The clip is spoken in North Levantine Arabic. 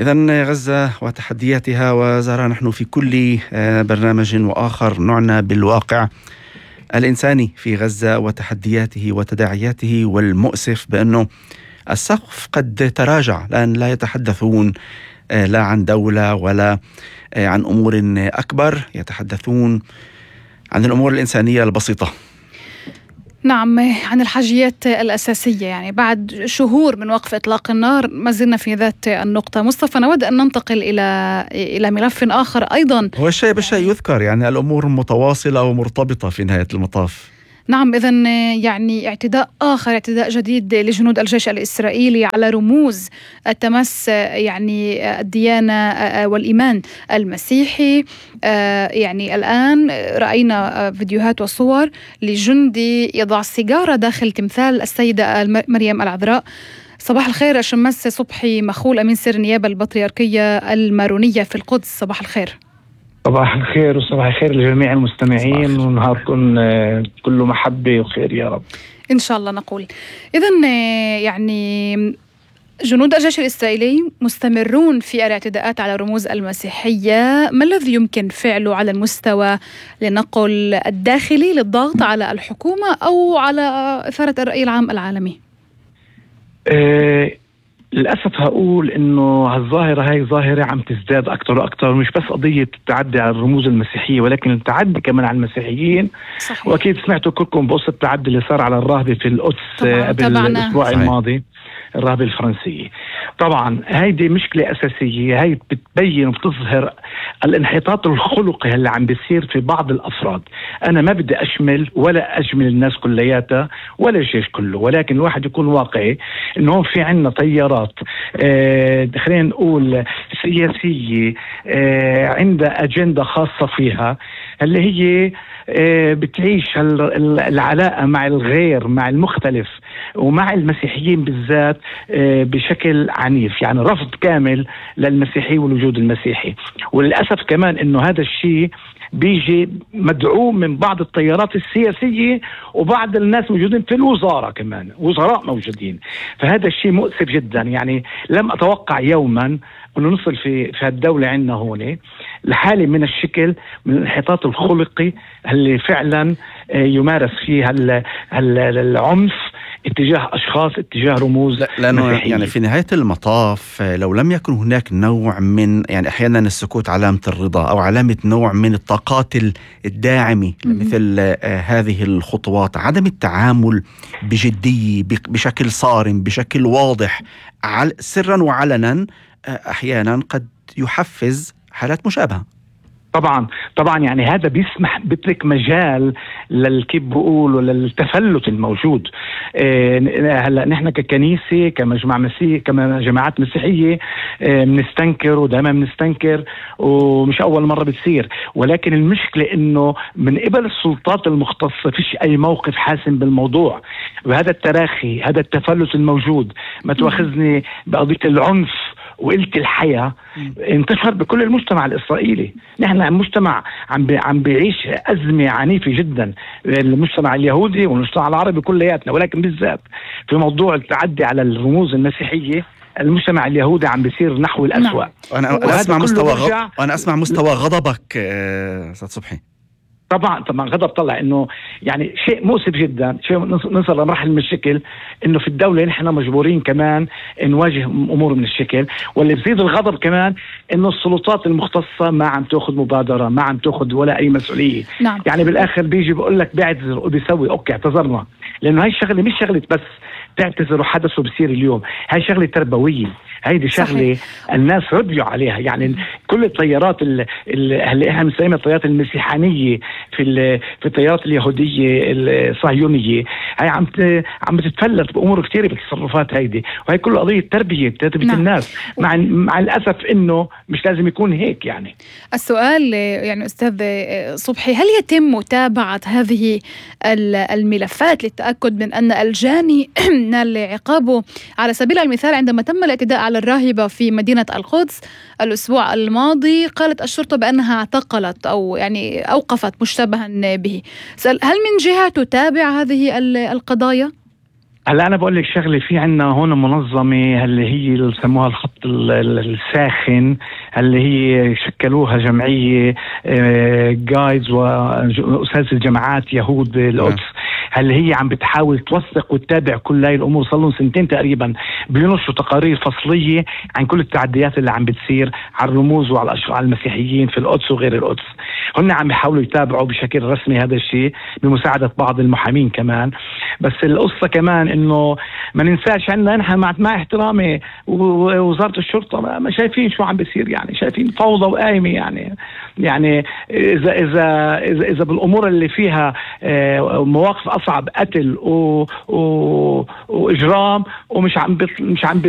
إذن غزة وتحدياتها، وزارة نحن في كل برنامج وآخر نعنى بالواقع الإنساني في غزة وتحدياته وتداعياته، والمؤسف بأنه السقف قد تراجع، لأن لا يتحدثون لا عن دولة ولا عن أمور أكبر، يتحدثون عن الأمور الإنسانية البسيطة. نعم، عن الحاجيات الأساسية. يعني بعد شهور من وقف إطلاق النار ما زلنا في ذات النقطة. مصطفى، نود أن ننتقل إلى ملف آخر أيضا. هو الشيء بالشيء يذكر، يعني الأمور متواصلة ومرتبطة في نهاية المطاف. نعم، إذن يعني اعتداء جديد لجنود الجيش الإسرائيلي على رموز التمس يعني الديانة والإيمان المسيحي. يعني الآن رأينا فيديوهات وصور لجندي يضع سيجارة داخل تمثال السيدة مريم العذراء. صباح الخير الشماس صبحي مخول، أمين سر النيابة البطريركية المارونية في القدس. صباح الخير. صباح الخير وصباح الخير لجميع المستمعين، ونهاركم كله محبة وخير يا رب إن شاء الله. نقول إذن يعني جنود الجيش الإسرائيلي مستمرون في الاعتداءات على رموز المسيحية. ما الذي يمكن فعله على المستوى لنقل الداخلي للضغط على الحكومة أو على إثارة الرأي العام العالمي؟ للأسف هقول إنه هالظاهرة هاي ظاهرة عم تزداد أكتر وأكتر، مش بس قضية التعدي على الرموز المسيحية ولكن التعدي كمان على المسيحيين. صحيح. وأكيد سمعتوا كلكم بقصة التعدي اللي صار على الراهبة في القدس قبل الأسبوع الماضي، الراهبة الفرنسية. طبعا هيدي مشكلة أساسية، هاي بتبين وبتظهر الانحطاط الخلقي اللي عم بيصير في بعض الأفراد. أنا ما بدي أشمل ولا أجمل الناس كلياتها ولا الجيش كله، ولكن الواحد يكون واقعي إنه في عنا تيارات خلينا نقول سياسية عندها أجندة خاصة فيها، اللي هي بتعيش العلاقة مع الغير، مع المختلف ومع المسيحيين بالذات بشكل عنيف، يعني رفض كامل للمسيحي والوجود المسيحي. وللأسف كمان إنه هذا الشيء بيجي مدعوم من بعض التيارات السياسية وبعض الناس موجودين في الوزارة، كمان وزراء موجودين. فهذا الشيء مؤسف جدا. يعني لم أتوقع يوما أنه نصل في الدولة عندنا هون لحالة من الشكل، من الانحطاط الخلقي اللي فعلا يمارس فيه العنف اتجاه أشخاص، اتجاه رموز. لأنه يعني في نهاية المطاف لو لم يكن هناك نوع من، يعني أحيانا السكوت علامة الرضا أو علامة نوع من الطاقات الداعمة مثل هذه الخطوات، عدم التعامل بجدية بشكل صارم بشكل واضح سرا وعلنا، أحيانا قد يحفز حالات مشابهة. طبعا يعني هذا بيترك مجال كيف بقول للتفلت الموجود. هلا نحن ككنيسة كمجمع مسيحي كجماعات مسيحية بنستنكر ودائما بنستنكر، ومش أول مرة بتصير، ولكن المشكلة إنه من قبل السلطات المختصة فيش أي موقف حاسم بالموضوع. وهذا التراخي، هذا التفلت الموجود، ما تواخذني بقضية العنف وقلة الحياة، انتشر بكل المجتمع الإسرائيلي. نحن مجتمع عم بيعيش أزمة عنيفة جدا، المجتمع اليهودي والمجتمع العربي كلياتنا، ولكن بالذات في موضوع التعدي على الرموز المسيحية المجتمع اليهودي عم بيصير نحو الأسوأ. وأنا أسمع مستوى غضبك أستاذ صبحي. طبعا غضب طلع انه يعني شيء مؤسف جدا، شيء نصل لمرحله من الشكل انه في الدوله نحن مجبورين كمان نواجه امور من الشكل. واللي بزيد الغضب كمان انه السلطات المختصه ما عم تاخذ مبادره، ما عم تاخذ ولا اي مسؤوليه. نعم. يعني بالاخر بيجي بقول لك بيعتذر وبيسوي اوكي اعتذرنا، لانه هاي الشغله مش شغله بس تعتذر وحدث وبصير اليوم، هاي شغله تربويه، هيدي شغله الناس ربيوا عليها. يعني كل التيارات اللي احنا بنسميها التيارات المسيحانيه في التيارات اليهوديه الصهيونيه، هاي عم تتفلت بامور كثيره بالتصرفات هيدي، وهي كل قضيه تربيه الناس. مع الاسف انه مش لازم يكون هيك. يعني السؤال يعني استاذ صبحي، هل يتم متابعه هذه الملفات للتاكد من ان الجاني نال عقابه؟ على سبيل المثال عندما تم الاعتداء على الراهبة في مدينة القدس الأسبوع الماضي، قالت الشرطة بأنها اعتقلت أو يعني أوقفت مشتبها به. هل من جهة تتابع هذه القضايا؟ هلا انا بقول لك شغله، في عندنا هون منظمه اللي هي اللي بسموها الخط الساخن، اللي هي شكلوها جمعيه جايدز واساتذه الجامعات يهود بالقدس، اللي هي عم بتحاول توثق وتتابع كل هاي الامور. صار لهم سنتين تقريبا بينشروا تقارير فصليه عن كل التعديات اللي عم بتصير على الرموز وعلى على المسيحيين في القدس وغير القدس. هن عم بيحاولوا يتابعوا بشكل رسمي هذا الشيء بمساعده بعض المحامين كمان. بس القصه كمان انه ما ننساش عندنا نحن مع احترامي ووزاره الشرطه ما شايفين شو عم بيصير، يعني شايفين فوضى وقايمه. يعني اذا بالامور اللي فيها مواقف اصعب، قتل واجرام، ومش عم